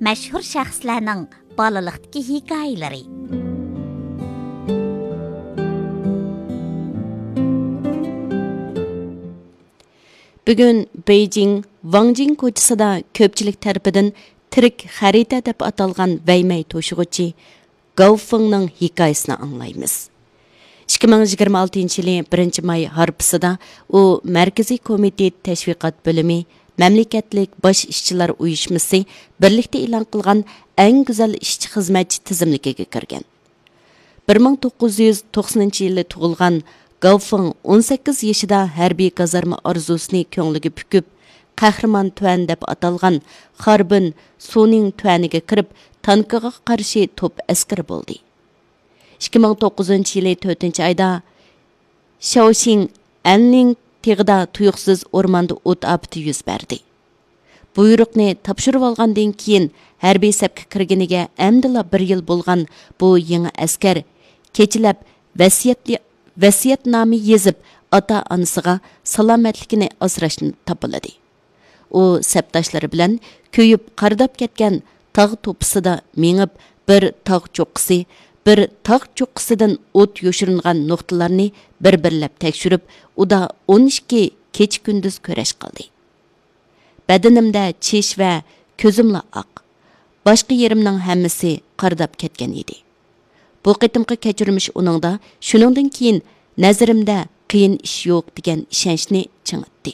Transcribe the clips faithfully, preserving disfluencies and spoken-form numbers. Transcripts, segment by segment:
مەشھۇر شەخسلەرنىڭ بالىلىقتىكى ھېكايىلىرى. بۈگۈن بېيجىڭ ۋاڭجىڭ كوچىسىدا كۆپچىلىك تەرىپىدىن تىرىك خەرىتە دەپ ئاتالغان ۋەيمەي توشۇغۇچى گاۋ فېڭنىڭ ھېكايىسىنى ئاڭلايمىز. ئىككى مىڭ يىگىرمە ئالتىنچى يىلى بىرىنچى ماي ھارپىسىدا ئۇ مەركىزىي كومىتېت تەشۋىقات بۆلۈمى، مەملىكەتلىك باش ئىشچىلار ئۇيۇشمىسى بىرلىكتە ئېلان قىلغان ئەڭ گۈزەل ئىشچى خىزمەتچى تىزىملىكىگە كىرگەن. بىر مىڭ توققۇز يۈز توقسىنىنچى يىلى تۇغۇلغان گاۋ فېڭ ئون سەككىز يېشىدا ھەربىي كازارما ئارزۇسىنى كۆڭلىگە پۈكۈپ، قەھرىمان تۈەن دەپ ئاتالغان خاربىن سۇنىڭ تۈەنىگە كىرىپ، تانكىغا قارشى توپ ئەسكىرى بولدى. ئىككى مىڭ توققۇزىنچى يىلى تۆتىنچى ئايدا شياۋشىڭ ئەنلىڭ تېغىدا تۇيۇقسىز ئورماندا ئوت ئاپىتى يۈز بەردى. بۇيرۇقنى تاپشۇرۇۋالغاندىن كېيىن، ھەربىي سەپكە كىرگىنىگە ئەمدىلا بىر يىل بولغان بۇ يېڭى ئەسكەر كېچىلەپ ۋەسىيەت، ۋەسىيەتنامە يېزىپ، ئاتا-ئانىسىغا سالامەتلىكىنى ئاسراشنى تاپىلىدى. ئۇ سەپداشلىرى بىلەن كۆيۈپ قارىداپ كەتكەن تاغ توپىسىدا مېڭىپ، بىر تاغ چوققىسى، بىر تاغ چوققىسىدىن ئوت يوشۇرۇنغان نۇقتىلارنى بىر-بىرلەپ تەكشۈرۈپ، ئۇدا ئون ئىككى كېچە-كۈندۈز كۈرەش قىلدى. بەدىنىمدە چىش ۋە كۆزۈملا ئاق. باشقا يېرىمنىڭ ھەممىسى قارىداپ كەتكەن ئىدى. بۇ قېتىمقى كەچۈرمىش ئۇنىڭدا شۇنىڭدىن كېيىن نەزىرىمدە قىيىن ئىش يوق دېگەن ئىشەنچنى چىڭىتتى.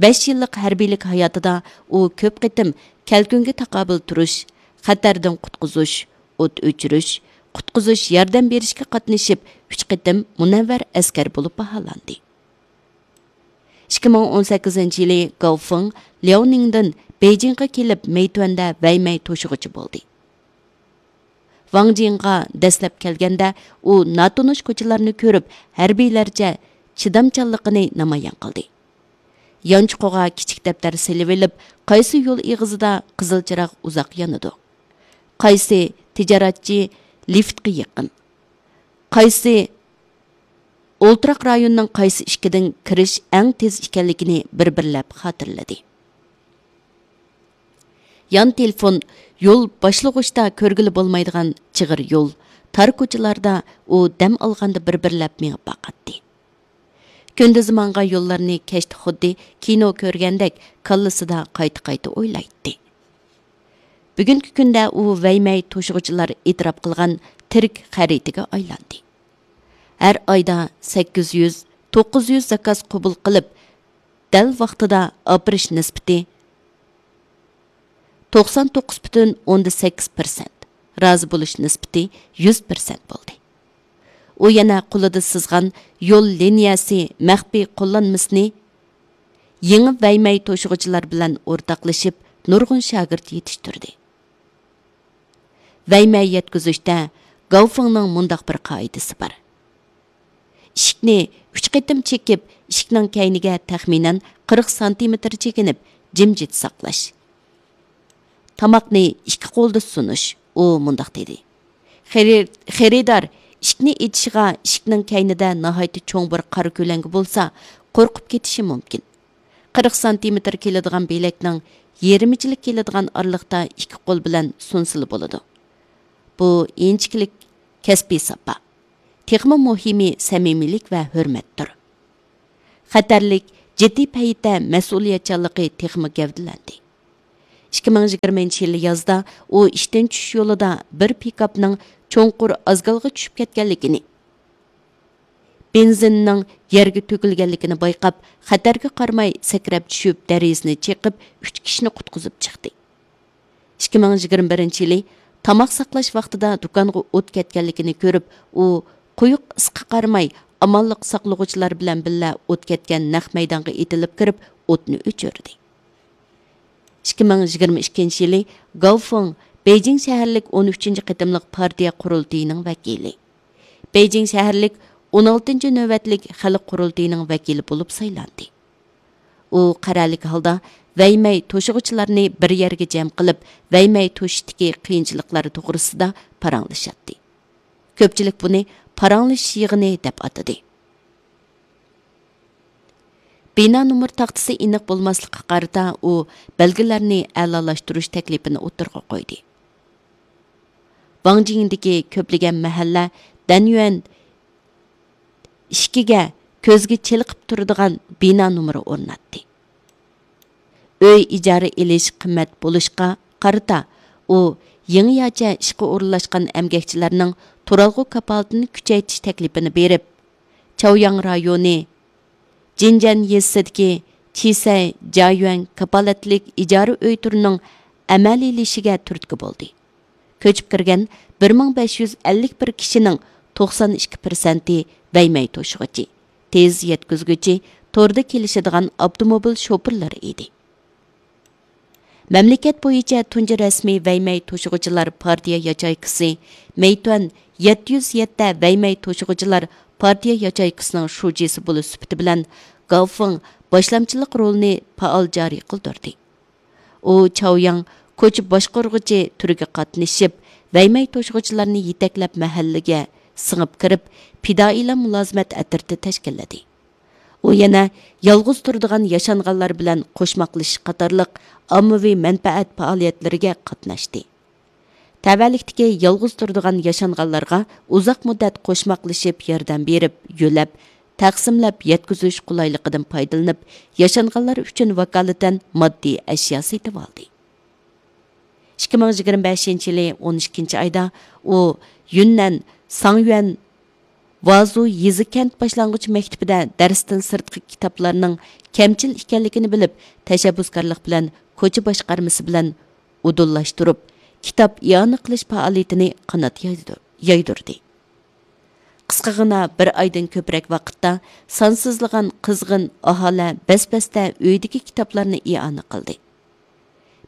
بەش يىللىق ھەربىيلىك ھاياتىدا ئۇ كۆپ قېتىم كەلكۈنگە تاقابىل تۇرۇش، خەتەردىن قۇتقۇزۇش، ئوت ئۆچۈرۈش، قۇتقۇزۇش ياردەم بېرىشكە قاتنىشىپ، ئۈچ قېتىم مۇنەۋۋەر ئەسكەر بولۇپ باھالاندى. ئىككى مىڭ ئون سەككىزىنچى يىلى گاۋ فېڭ لياۋنىڭدىن بېيجىڭغا كېلىپ، مەيتۈەندە ۋەيمەي توشۇغۇچى بولدى. ۋاڭجىڭغا دەسلەپ كەلگەندە، ئۇ ناتونۇش كوچىلارنى كۆرۈپ، ھەربىيلەرچە چىدامچانلىقىنى نامايان قىلدى. يانچۇقىغا كىچىك دەپتەر سېلىۋېلىپ، قايسى يول ئېغىزىدا قىزىل چىراغ ئۇزاق يانىدۇ، قايسى تىجارەتچى لىفتقا يېقىن، قايسى ئولتۇراق رايوننىڭ قايسى ئىشىكىدىن كىرىش ئەڭ تېز ئىكەنلىكىنى بىر-بىرلەپ خاتىرىلىدى. يان تېلېفون، يول باشلىغۇچتا كۆرگىلى بولمايدىغان چىغىر يول، تار كوچىلاردا ئۇ دەم ئالغاندا بىر-بىرلەپ مېڭىپ باقاتتى. كۈندۈزى ماڭغان يوللارنى كەچتە خۇددى كىنو كۆرگەندەك كاللىسىدا قايتا-قايتا ئويلايتتى. بۈگۈنكى كۈندە ئۇ ۋەيمەي توشۇغۇچىلار ئېتىراپ قىلغان تىرىك خەرىتىگە ئايلاندى. ھەر ئايدا سەككىز يۈز، توققۇز يۈز زاكاز قوبۇل قىلىپ، دەل ۋاقتىدا ئاپىرىش نىسبىتى توقسان توققۇز پۈتۈن ئوندىن سەككىز پىرسەنت، رازى بولۇش نىسبىتى يۈز پىرسەنت بولدى. ئۇ يەنە قولىدا سىزغان يول لىنىيەسى مەخپىي قوللانمىسىنى يېڭى ۋەيمەي توشۇغۇچىلار بىلەن ئورتاقلىشىپ، نۇرغۇن شاگىرت يېتىشتۈردى. ۋەيمەي يەتكۈزۈشتە گاۋفېڭنىڭ مۇنداق بىر قائىدىسى بار. ئىشىكنى ئۈچ قېتىم چېكىپ، ئىشىكنىڭ كەينىگە تەخمىنەن قىرىق سانتىمېتىر چېكىنىپ، جىمجىت ساقلاش. تاماقنى ئىككى قولدا سۇنۇش. ئۇ مۇنداق دېدى: خېرى-، خېرىدار ئىشىكنى ئېچىشىغا ئىشىكنىڭ كەينىدە ناھايىتى چوڭ بىر قارا كۆلەڭگە بولسا، قورقۇپ كېتىشى مۇمكىن. قىرىق سانتىمېتىر كېلىدىغان بېلەكنىڭ يېرىمىچىلىك كېلىدىغان ئارىلىقتا ئىككى قول بىلەن سۇنسىلا بولىدۇ. بۇ ئىنچىكىلىك، كەسپىي ساپا. تېخىمۇ مۇھىمى سەمىمىيلىك ۋە ھۆرمەتتۇر. خەتەرلىك، جىددىي پەيتتە مەسئۇلىيەتچانلىقى تېخىمۇ گەۋدىلەندى. ئىككى مىڭ يىگىرمىنچى يىلى يازدا ئۇ ئىشتىن چۈشۈش يولىدا بىر پىكاپنىڭ چوڭقۇر ئازگالغا چۈشۈپ كەتكەنلىكىنى، بېنزىننىڭ يەرگە تۆكۈلگەنلىكىنى بايقاپ، خەتەرگە قارىماي سەكرەپ چۈشۈپ، دېرىزىنى چېقىپ، ئۈچ كىشىنى قۇتقۇزۇپ چىقتى. ئىككى مىڭ يىگىرمە بىرىنچى يىلى تاماق ساقلاش ۋاقتىدا دۇكانغا ئوت كەتكەنلىكىنى كۆرۈپ، ئۇ قويۇق ئىسقا قارىماي، ئامانلىق ساقلىغۇچىلار بىلەن بىللە ئوت كەتكەن نەق مەيدانغا ئېتىلىپ كىرىپ، ئوتنى ئۆچۈردى. ئىككى مىڭ يىگىرمە ئىككىنچى يىلى گاۋ فېڭ بېيجىڭ شەھەرلىك ئون ئۈچىنچى قېتىملىق پارتىيە قۇرۇلتىيىنىڭ ۋەكىلى، بېيجىڭ شەھەرلىك ئون ئالتىنچى نۆۋەتلىك خەلق قۇرۇلتىيىنىڭ ۋەكىلى بولۇپ سايلاندى. ئۇ قەرەللىك ھالدا ۋەيمەي توشۇغۇچىلارنى بىر يەرگە جەم قىلىپ، ۋەيمەي توشۇشتىكى قىيىنچىلىقلار توغرىسىدا پاراڭلىشاتتى. كۆپچىلىك بۇنى پاراڭلىشىش يىغىنى دەپ ئاتىدى. بىنا نومۇر تاختىسى ئېنىق بولماسلىققا قارىتا، ئۇ بەلگىلەرنى ئەلالاشتۇرۇش تەكلىپىنى ئوتتۇرىغا قويدى. ۋاڭجىڭدىكى كۆپلىگەن مەھەللە دەنيۈەن ئىككىگە كۆزگە چېلىقىپ تۇرىدىغان بىنا نومۇرى ئورناتتى. ئۆي ئىجارە ئېلىش قىممەت بولۇشقا قارىتا، ئۇ يېڭىچە ئىشقا ئورۇنلاشقان ئەمگەكچىلەرنىڭ تۇرالغۇ كاپالىتىنى كۈچەيتىش تەكلىپىنى بېرىپ، چاۋياڭ رايونى جىنجەن يېزىسىدىكى چىسەي جايۈەن كاپالەتلىك ئىجارە ئۆي تۈرىنىڭ ئەمەلىيلىشىشىگە تۈرتكە بولدى. كۆچۈپ كىرگەن بىر مىڭ بەش يۈز ئەللىك بىر كىشىنىڭ توقسان ئىككى پىرسەنتى ۋەيمەي توشۇغۇچى، تېز يەتكۈزگۈچى، توردا كېلىشىدىغان ئاپتوموبىل شوپۇرلىرى ئىدى. مەملىكەت بويىچە تۇنجى رەسمىي ۋەيمەي توشۇغۇچىلار پارتىيە ياچېيكىسى مېيتۈەن يەتتە يۈز يەتتە ۋەيمەي توشۇغۇچىلار پارتىيە ياچېيكىسىنىڭ شۇجىسى بولۇش سۈپىتى بىلەن گاۋفېڭ باشلامچىلىق رولىنى پائال جارى قىلدۇردى. ئۇ چاۋياڭ كوچا باشقۇرغۇچى تۈرىگە قاتنىشىپ، ۋەيمەي توشۇغۇچىلارنى يېتەكلەپ مەھەللىگە سىڭىپ كىرىپ، پىدائىيلار مۇلازىمەت ئەترىتى تەشكىللىدى. ئۇ يەنە يالغۇز تۇرىدىغان ياشانغانلار بىلەن قوشماقلىشىش قاتارلىق ئاممىۋى مەنپەئەت پائالىيەتلىرىگە قاتناشتى. تەۋەلىكتىكى يالغۇز تۇرىدىغان ياشانغانلارغا ئۇزاق مۇددەت قوشماقلىشىپ ياردەم بېرىپ، يۆلەپ، تەقسىملەپ يەتكۈزۈش قولايلىقىدىن پايدىلىنىپ، ياشانغانلار ئۈچۈن ۋاكالىتەن ماددىي ئەشيا سېتىۋالدى. ئىككى مىڭ يىگىرمە بەشىنچى يىلى ئون ئىككىنچى ئايدا ئۇ يۈننەن ساڭيۈەن ۋازۇ يېزا كەنت باشلانغۇچ مەكتىپىدە دەرستىن سىرتقى كىتابلارنىڭ كەمچىل ئىكەنلىكىنى بىلىپ، تەشەببۇسكارلىق بىلەن كوچا باشقارمىسى بىلەن ئۇدۇللاشتۇرۇپ، كىتاب ئىئانە قىلىش پائالىيىتىنى قانات يايدۇ-، يايدۇردى. قىسقىغىنا بىر ئايدىن كۆپرەك ۋاقىتتا سانسىزلىغان قىزغىن ئاھالە بەس-بەستە ئۆيىدىكى كىتابلارنى ئىئانە قىلدى.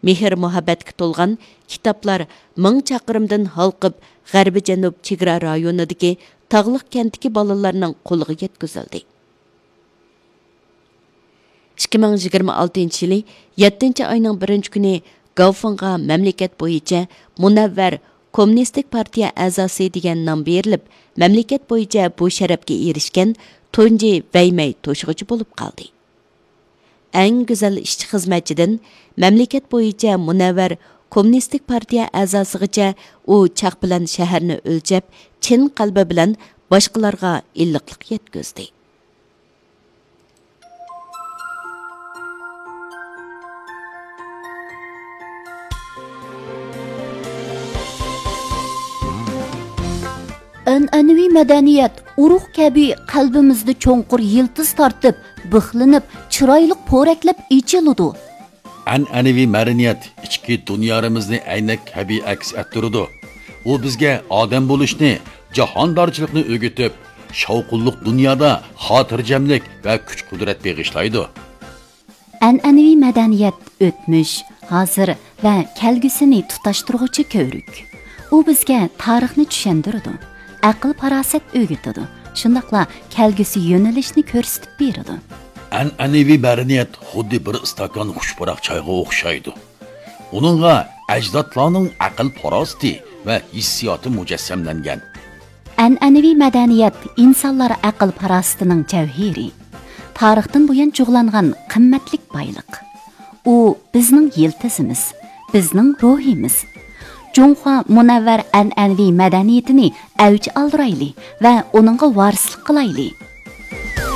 مېھىر-مۇھەببەتكە تولغان كىتابلار مىڭ چاقىرىمدىن ھالقىپ، غەربىي جەنۇب چېگرا رايونىدىكى تاغلىق كەنتتىكى بالىلارنىڭ قولىغا يەتكۈزۈلدى. ئىككى مىڭ يىگىرمە ئالتىنچى يىلى يەتتىنچى ئاينىڭ بىرىنچى كۈنى گاۋفېڭغا مەملىكەت بويىچە مۇنەۋۋەر كوممۇنىستىك پارتىيە ئەزاسى دېگەن نام بېرىلىپ، مەملىكەت بويىچە بۇ شەرەپكە ئېرىشكەن تۇنجى ۋەيمەي توشۇغۇچى بولۇپ قالدى. ئەڭ گۈزەل ئىشچى-خىزمەتچىدىن مەملىكەت بويىچە مۇنەۋۋەر كوممۇنىستىك پارتىيە ئەزاسىغىچە ئۇ چاق بىلەن شەھەرنى ئۆلچەپ، چىن قەلبى بىلەن باشقىلارغا ئىللىقلىق يەتكۈزدى. ئەنئەنىۋى مەدەنىيەت ئۇرۇق كەبى قەلبىمىزدە چوڭقۇر يىلتىز تارتىپ، بىخلىنىپ، چىرايلىق پورەكلەپ ئېچىلىدۇ. ئەنئەنىۋى مەدەنىيەت ئىچكى دۇنيارىمىزنى ئەينەك كەبى ئەكس ئەتتۈرىدۇ. ئۇ بىزگە ئادەم بولۇشنى، جاھاندارچىلىقنى ئۆگىتىپ، شاۋقۇنلۇق دۇنيادا خاتىرجەملىك ۋە كۈچ-قۇدرەت بېغىشلايدۇ. ئەنئەنىۋى مەدەنىيەت ئۆتمۈش، ھازىر ۋە كەلگۈسىنى تۇتاشتۇرغۇچى كۆۋرۈك. ئۇ بىزگە تارىخنى چۈشەندۈرىدۇ، ئەقىل-پاراسەت ئۆگىتىدۇ، شۇنداقلا كەلگۈسى يۆنىلىشنى كۆرسىتىپ بېرىدۇ. ئەنئەنىۋى مەدەنىيەت خۇددى بىر ئىستاكان خۇش پۇراق چايغا ئوخشايدۇ. ئۇنىڭغا ئەجدادلارنىڭ ئەقىل-پاراسىتى ۋە ھېسسىياتى مۇجەسسەملەنگەن. ئەنئەنىۋى مەدەنىيەت ئىنسانلار ئەقىل-پاراسىتىنىڭ جەۋھىرى، تارىختىن بۇيان جۇغلانغان قىممەتلىك بايلىق. ئۇ بىزنىڭ يىلتىزىمىز، بىزنىڭ روھىمىز. جۇڭخۇا مۇنەۋۋەر ئەنئەنىۋى مەدەنىيىتىنى ئەۋج ئالدۇرايلى ۋە ئۇنىڭغا ۋارىسلىق قىلايلى.